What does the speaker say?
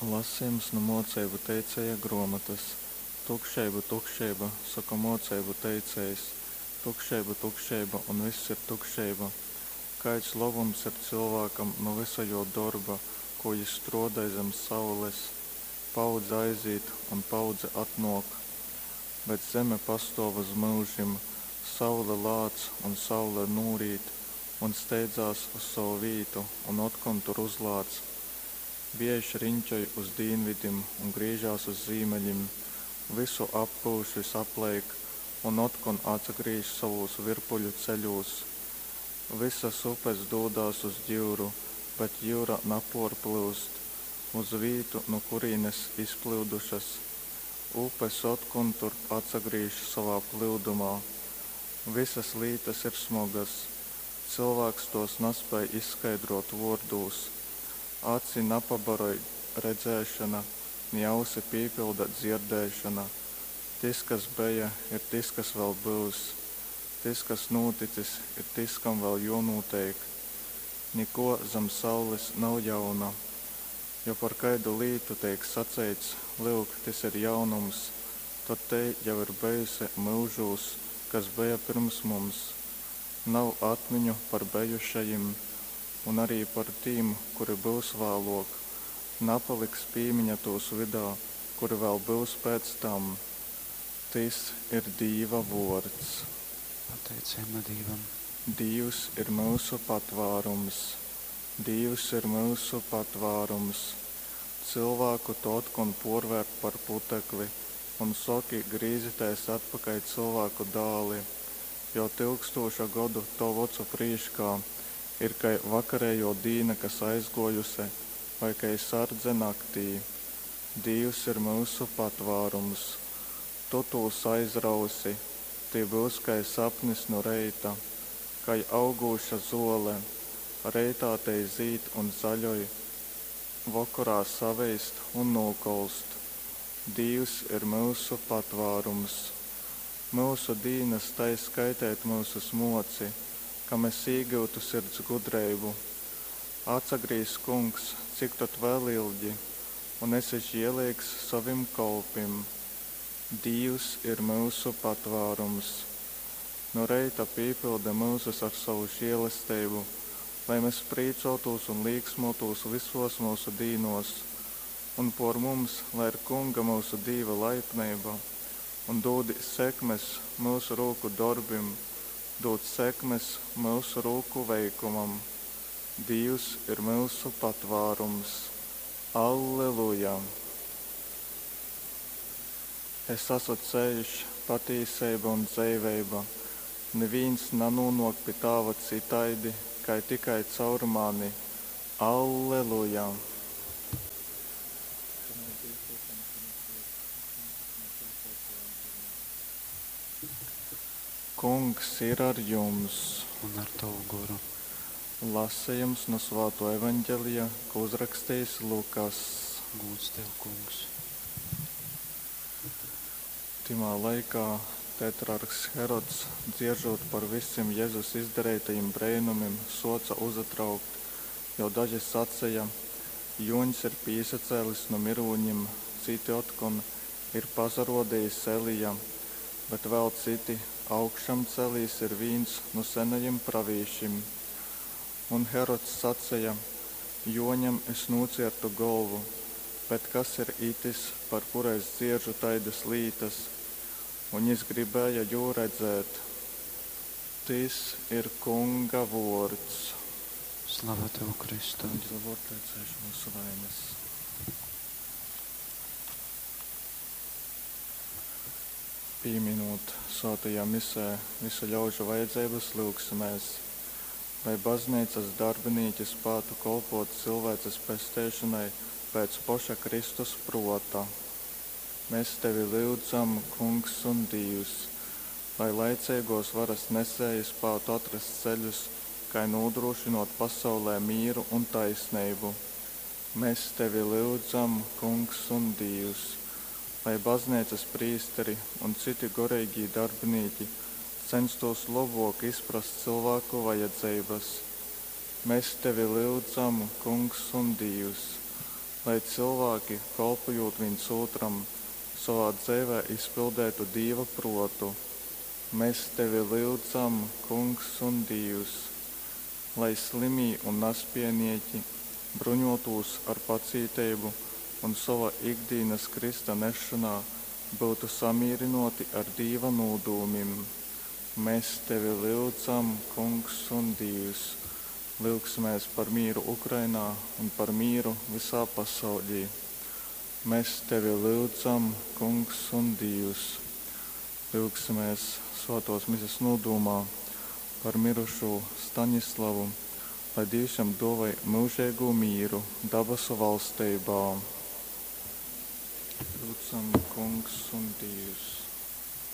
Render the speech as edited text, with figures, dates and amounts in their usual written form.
Lasejums nu Mōceibu teicēja grōmotas. Tukšeiba, tukšeiba, soka mōceibu teicējs, tukšeiba, tukšeiba un vyss ir tukšeiba. Kaids lobums ir cylvākam nu vysa jō dorba, kū jys strōdoj zem saules? Paaudze aizīt un paaudze atnōk, bet zeme pastōv uz myužim. Saule lāc un saule nūrīt un steidzās uz sovu vītu un otkon tur uzlāc. Viejš riņķoj uz dīnvidim un grīžās uz zīmeļim, vysu appyuš vysapleik un otkon atsagrīž sovūs virpuļu ceļūs. Vysas upes dūdās uz jyuru, bet jyura napōrplyust uz vītu, nu kurīnes izplyudušas. Upes otkon turp atsagrīž sovā plyudumā. Vysas lītas ir smogas, cylvāks tōs naspēj izskaidrōt vōrdūs. Aci napabaroj redzēšona, ni ausi pīpylda dzierdēšona. Tys, kas beja, ir tys, kas vēl byus, tys, kas nūticis, ir tys, kam vēl jōnūteik. Nikō zam saules nav jauna. Jo par kaidu lītu teik saceits, Lyuk, tys ir jaunums, tod tei jau ir bejuse myužūs, kas beja pyrms mums. Nav atmiņu par bejušajim, un ari par tim, kuri byus vālōk, napaliks pīmiņa tūs vydā, kuri vēl byus pēc tam. Tys ir Dīva vōrds. Pateiceiba Dīvam. Dīvs ir myusu patvārums. Dīvs ir myusu patvārums. Cylvāku tu otkon pōrvērt par putekli un soki, Grīzitēs atpakaļ, cylvāku dāli! Jo tyukstūša godu tovu ocu prīškā ir kai vakarejō dīna, kas aizgōjuse, vai kai sardze naktī. Dīvs ir myusu patvārums. Tu tūs aizrausi, tī byus kai sapnis nu reita, kai augūša zōle, reitā tei zīd un zaļoj, vokorā saveist un nūkolst. Dīvs ir myusu patvārums. Myusu dīnas tai skaiteit myusus mōci, ka mes īgyutu sirds gudreibu. Atsagrīz, Kungs, cik tod vēl ilgi? Un esi žieleigs sovim kolpim. Dīvs ir myusu patvārums. Nu reita pīpyldi myusus ar sovu želesteibu, lai mes prīcōtūs un līksmōtūs vysōs myusu dīnōs. Un pōr mums lai ir Kunga myusu Dīva laipneiba, un dūdi sekmes myusu rūku dorbim, dūd sekmes myusu rūku veikumam. Dīvs ir myusu patvārums. Alleluja! Es asu ceļš, patīseiba un dzeiveiba. Nivīns nanūnōk pi Tāva cytaidi, kai tikai caur mani. Alleluja! Kungs ir ar jums! Un ar tavu goru. Lasejums nu Svātō Evaņgelija, ko uzrakstījis Lukass. Gūds tev, Kungs. Tymā laikā tetrarhs Herods, dzieržūt par vysim Jezus izdareitajim breinumim, sōca uzatraukt, jo daži saceja, Jōņs ir pīsacēlis nu myrūņim, cyti otkon, Ir pasarōdejis Elija, bet vēl cyti, Augšamcēlīs ir vīns nu senajim pravīšim. Un Herods saceja, Jōņam es nūciertu golvu, bet kas ir itys, par kuru es dzieržu taidas lītas? Un jys gribēja jū redzēt. Tys ir Kunga vōrds. Slava tev, Kristu. Eņģeļa vōrdā cēš mūsu vainas. Pīminūt svētajā misē visu ļaužu vajadzeibas, lyugsimēs, lai bazneicas darbinīki spētu kolpōt cilvēces pesteišonai pēc poša Kristus prōta. Mēs tevi lyudzam, Kungs un Dīvs, lai laiceigōs varas nesēji spātu atrast ceļus, kai nūdrūšynōt pasaulē mīru un taisneibu. Mēs tevi lyudzam, Kungs un Dīvs, lai bazneicas prīsteri un cyti goreigī darbinīki censtos lobōk izprast cylvāku vajadzeibas. Mes tevi lyudzam, Kungs un Dīvs, Lai cylvāki, kolpojūt vīns ūtram, sovā dzeivē izpildeitu Dīva pruotu. Mes tevi lyudzam, Kungs un Dīvs! Lai slymī un naspiejnīki bruņuotūs ar pacīteibu un sova ikdīnas krysta nesšonā byutu samīrynuoti ar Dīva nūdūmim. Mes tevi lyudzam, Kungs un Dīvs! Lyugsimēs par mīru Ukrainā un par mīru vysā pasauļī. Mes tevi lyudzam, Kungs un Dīvs! Lyugsimēs Svātuos Mises nūdūmā par mirušū Stanislavu, lai Dīvs jam duovoj myužeigū mīru dabasu valsteibā. Lyudzam, Kungs un Dīvs!